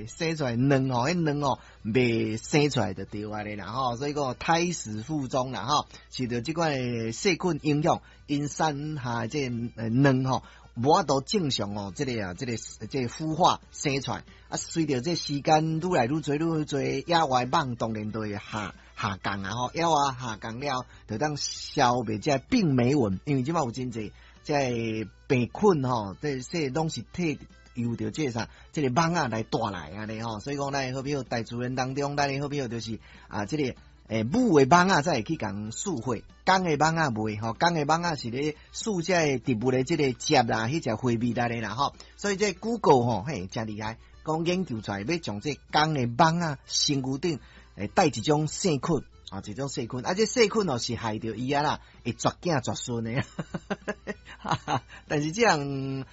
生出來卵吼，彼卵吼袂生出來就對啊咧啦吼，所以講胎死腹中啦吼，受著這款的細菌影響，𪜶產下這個卵吼，無法度正常哦，這個啊，這個這個孵化生出來，啊，隨著這時間愈來愈濟愈濟，野外蠓當然就會下降啊吼，野外下降了，就當消滅這病媒蚊，因為這擺有真濟這個病菌吼，這這攏是替由著這個啥，這個蠓仔來帶來按呢吼，所以講咱的好朋友大自然當中，咱的好朋友就是啊，這個母的蠓仔才會去共輸血，公的蠓仔袂吼，公的蠓仔是咧輸這個植物的這個汁啦，彼隻花蜜來的啦吼，所以這個 Google 吼，嘿，誠厲害，講研究出來欲將這公的蠓仔身軀頂會帶一種細菌啊，這種細菌，啊，這細菌哦是害著伊啊啦，會絕子絕孫的，但是這樣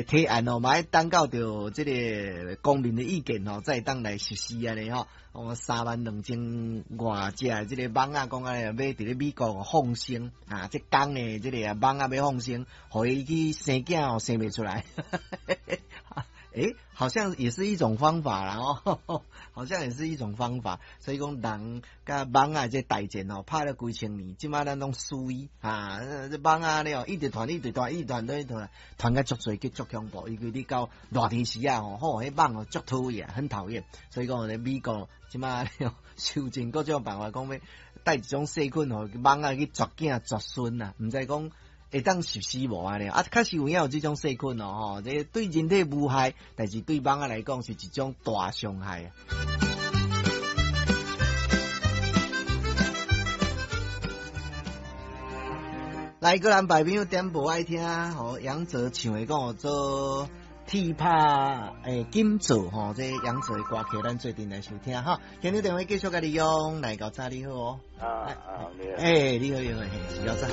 提案哦，嘛愛等到著這個公民的意見哦，才會當來實施按呢吼。哦，32,000外隻的這個蠓仔，講按呢欲佇咧美國放生啊，這公的這個蠓仔欲放生，予伊去生囝哦，生袂出來。好像也是一種方法啦哦，好像也是一種方法。所以講人佮蠓仔這大戰哦，拍了幾千年，這擺咱攏輸伊啊！這蠓仔咧哦，一直傳，一直傳，一直傳，一直傳，傳甲足濟，閣足恐怖。尤其你到熱天時啊吼，吼，彼蠓哦足討厭，很討厭。所以講咧，美國這擺想盡各種辦法，講欲帶一種細菌予蠓仔去絕子絕孫啊，毋知講會當實施無按呢？啊，確實有影有這種細菌哦，吼，這對人體無害，但是對蠓仔來講是一種大傷害啊。來，個人朋友點播愛聽，吼，楊哲唱的講做鐵拍金做吼，這楊哲的歌曲，咱做陣來收聽哈。現場電話繼續共你用，來到早你好哦。啊啊，你好，欸，你好，你好，是小早。